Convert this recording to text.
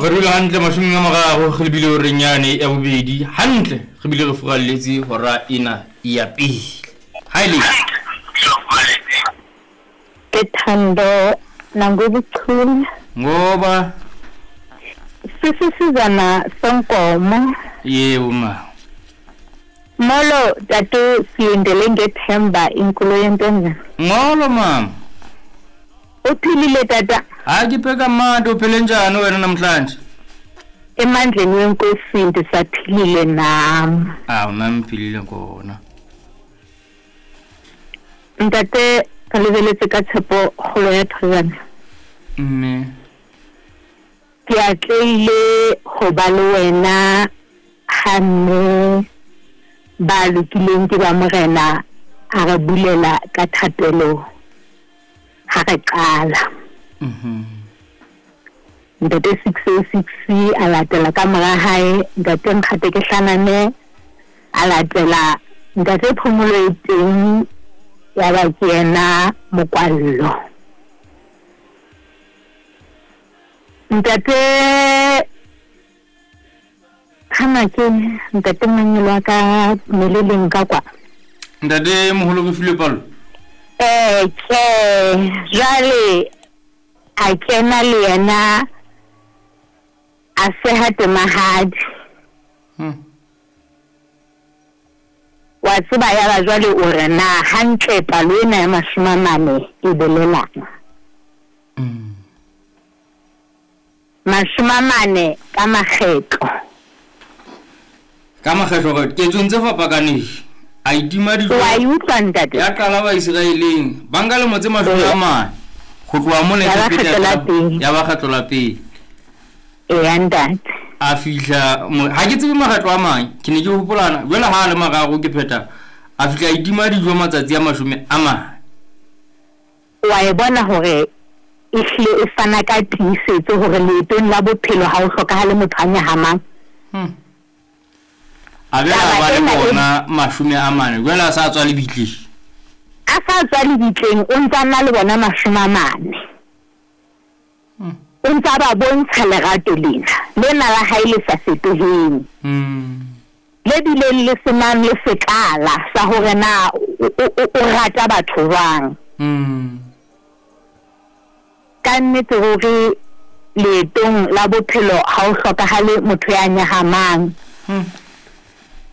Re dula hantle mashomeng a mararo re lebile horeng yane ya bobedi hantle re bile re furalletse hora ena ya pele. Ha e le Ke Thando Nangobuchule. Ngoba Sisisizana senkomo. Yebo ma. Molo tatu silindele ngethemba inkulu yentwana. Molo mama. Uphilile tata? Hayi ke pheka manje uphile njani wena namhlanje? Emandleni wenkosi ndisaphilile nam. Awu nami ngiphilile khona. Ntate re lebeletse ka tshepo kgolo ya thojana. Mme. Ke atlehile ho ba le wena ha mme ba lokileng ke ba morena a re bulela ka thapelo ha re qala. Ntate 606 a latela ka mora hae, ntate Nkgate ke hlaname a latela, ntate Phomolo e teng ya ba ke yena mokwallo. Ntate Hana ke ntate Manyelo wa ka meleleng ka kwa. Ntate moholo re filwe palo. Eh, tjhe, jwale a kena le yena a seha temahadi. Wa tseba ya ba jwale o re na hantle palo ena ya 40 e bolelang. 40 ka makgetlo. Ka makgetlo ka ketsong tse fapakaneng. A itima dijo. Wa e utlwa ntate? Ya qala Baiseraeleng. Ba nka lemo tse 40. Ho tloha mona Ya ba Egepeta kgetlo la pele. ya ba kgetlo la pele. Eya ntate. A fihla ha ke tsebe makgetlo a mang, ke ne ke hopolana jwale ha a le mararo ke phetha. A fihla a itima dijo matsatsi a 40. Wa e bona hore e hlile e fana ka tiisetso hore leetong la bophelo ha o hlokahale motho a nyahamang. A be a ba le bona 40 jwale a sa tswa lebitleng. A sa tswa lebitleng o ntsa na le bona 40. O ntsa ba bontsha lerato lena, lena la hae le sa fetoheng. Le bileng le senang le sekala sa hore na o rata batho jwang. Ka nnete ruri leetong la bophelo ha o hlokahale motho ya nyahamang.